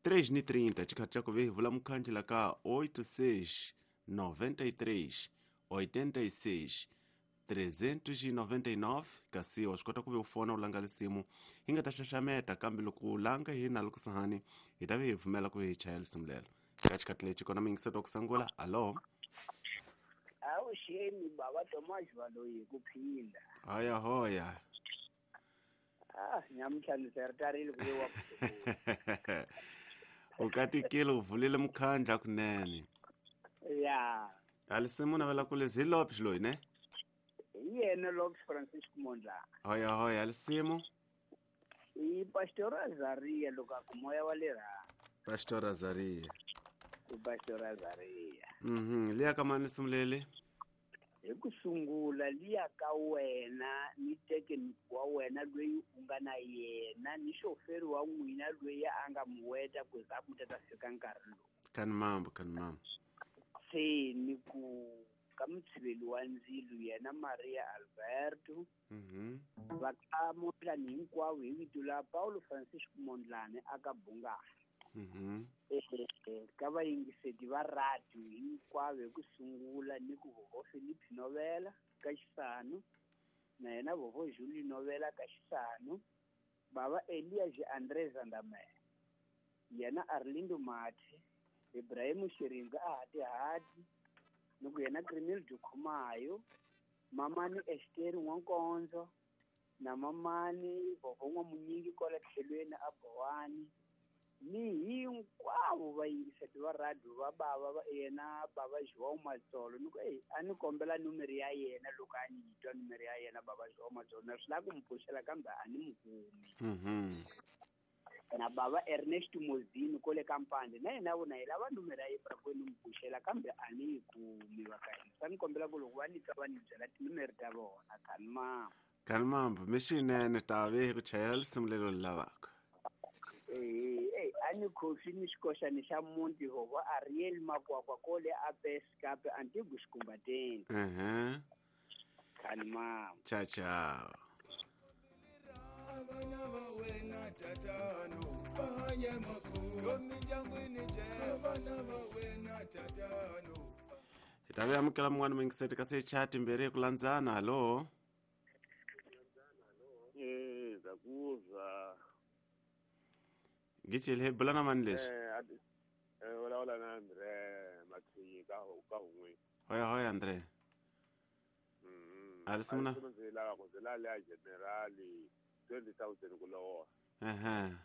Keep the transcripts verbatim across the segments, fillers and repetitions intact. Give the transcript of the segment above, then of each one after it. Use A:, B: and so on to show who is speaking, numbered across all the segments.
A: três ni trinta xikhathi xa ku ve hi vula mukhandli la ka oito seis noventa e três oitenta e seis trezentos e noventa e nove kasi wa swi kota ku ve u fona u langa lisimu hi nga ta xaxameta kambe loko u langa hi na loko sahani hi ta ve hi pfumela ku hi chaya lisimu lelo ka xikhathi lexi kona muyingiseti wa ku sungula alo
B: Awuxeni baba Thomas Baloyi ku phinda.
A: Hoya hoya.
B: Ah, nyamuhla ndzi ritarile ku wa.
A: U katikile u vulile mukhandla kunene.
B: Ya.
A: Alisimu navela ku lezi hi Lopes loyi ne?
B: Hi yena Lopes Francisco Mondla.
A: Hoya hoya alisimu.
B: I Pastor Azaria loko a ku moya wa le ra.
A: Pastor Azaria.
B: I Pastor Azaria.
A: Mhm, liya ka mani lisimu leli?
B: Hi ku sungula liya ka wena ni teke wa wena loyi u nga na yena ni xoferi wa n'wina loyi a nga muweta ku za ku ta fika nkarhi lowu.
A: Kani mambo kani mambo.
B: Se ni ku ka mutshiveli wa ndzilo yena Maria Alberto.
A: Mhm.
B: Va ka Mondlane hinkwavo hi vito la Paulo Francisco Mondlane aka Bungana.
A: Mhm.
B: Eh ka vayingiseti va radio hinkwavo hi ku sungula ni ku vovo Philip Novela ka Xisanu na yena vovo Julie Novela ka Xisanu baba Elias André Zandamela yena Arlindo Mathe Ibrahim Shiringa a hati hati ni ku yena Crimil Dukhumayo mamani Esther Nwankonzo na mamani vovo N'wamunyingi kwala tlhelweni a Bowani ni hinkwavo vayingiseti va radio va bava va yena baba João Matsolo ni ku ey a ni kombela numero ya yena loko a ni twa numero ya yena baba João Matsolo na swi lava ku mi pfuxela kambe a ni mu kumi.
A: Mhm.
B: Na baba Ernest Mozini kole ka Mpande na yena vona hi lava numero ya yena ku ni mu pfuxela kambe a ni yi kumi va ka hina sa ni kombela ku loko va ni twa va ni byela tinumero ta vona kani mambo.
A: Kani mambo mixinene ta ve hi ku chayela lisimu lelo lavaka.
B: Eh eh ani khofi ni xikoxani xa muti hovo Ariel Makwakwa kole a Peskape Antigu Xikumbateni.
A: Mhm.
B: Kani mambo.
A: Ciao ciao.
C: Vana va wena tatano va hanya makulu mindyangwini Jesu vana va wena tatano.
A: Hi ta ve amukela mun'wana muyingiseti kasi hi chaya timbirhi hi ku landzana hallo.
D: Eh ndza
A: Gicile hi bula na mani leswi?
D: Eh eh vulavula na Andre Mathiyi ka ka Hungwe.
A: Hoya hoya Andre.
D: Mhm.
A: Alisimu na
D: ndzi lava ku ndzi lava leya generali twenty thousand ku lovola.
A: Ehe.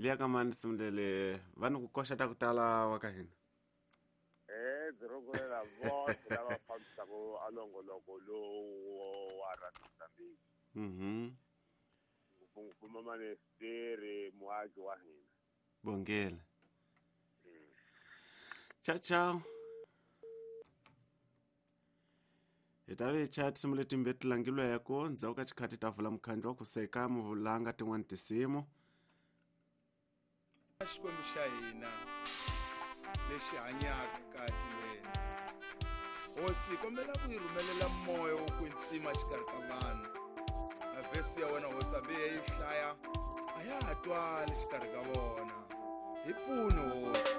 A: Liya ka mani lisimu leli va ni ku koxa ta ku tala wa ka hina.
D: Eh ndzi rhungulela vose lava fambisaka a nongoloko lowu wa Radio Mozambique.
A: Mhm.
D: Ngopfungopfu mamani Esteri muaki wa hina.
A: Bongela. Ciao ciao. Hi ta ve hi chaya tinsimu letimbirhi ti langilweko ndzhaku ka xikhathi ta vula mukhandlu wa ku seka muvulanga tin'wani tinsimu.
C: Xikwembu xa hina lexi hanyaka ka tilweni. Hosi kombela ku yi rhumelela moya wo kwetsima xikarhi ka vanhu. A vhesi ya wena hosi hambi yi hlaya a ya ha twali xikarhi ka vona. Hi pfuni hosi.